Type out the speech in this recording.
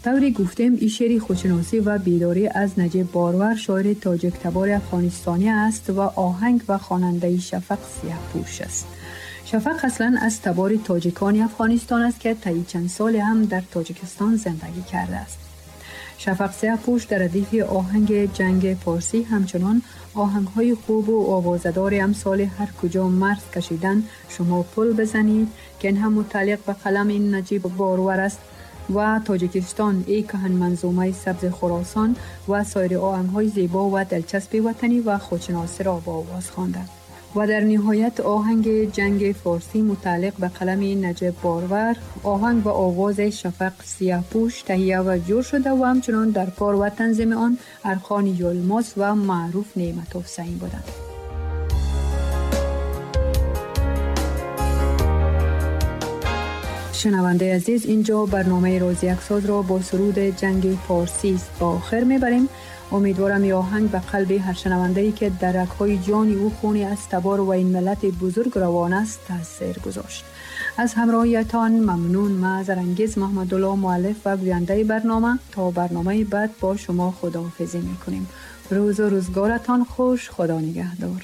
Тавре гуфтем, ин шеъри худшиносӣ ва бедорӣ аз Наҷиб Борвар, шоири тоҷиктабори афғонистонӣ аст ва оҳанг ва хонандаи Шафақ Сиёҳпӯш аст. Шафақ аслан аз табори тоҷикони Афғонистон аст, ки тӯли чанд соле ҳам дар Тоҷикистон зиндагӣ кардааст. Шафақ Сиёҳпӯш дар радифи оҳанги ҷанги форсӣ ҳамчунон оҳангҳои хуб ва овозадори амсоли ҳар куҷо марз кашидан шумо пул бизанед, ки ин ҳам мутааллиқ ба қалами Наҷиб Борвар аст, ва Тоҷикистон эй кӯҳан манзумаи сабзи Хуросон ва соири оҳангҳои зебо ва дилчаспи ватанӣ ва худшиносиро бо овоз хонданд. Ва дар ниҳоят оҳанги ҷанги форсӣ мутааллиқ ба қалами Наҷиб Борвар, оҳанг ва овози Шафақ Сиёҳпӯш таҳия ва ҷӯр шуда ва ҳамчунон дар кор ва танзими он Архон Юлмоз ва Маъруф Неъматов саҳим буданд. Шунавандаи азиз, инҷо барномаи Рози Яксозро бо суруди ҷанги форсӣ ба охир мебарем. Умедворам ин оҳанг ба қалби ҳар шунавандае, ки дар рагҳои ҷони ӯ хуни аз табор ва ин миллати бузург равон аст, таъсир гузошт. Аз ҳамроҳиятон мамнун. Ман Зарангез Муҳаммадулло, муаллиф ва гӯяндаи барнома, то барномаи баъд бо шумо худоҳофизӣ мекунем. Рӯзу рӯзгоратон хуш. Худо нигаҳдор.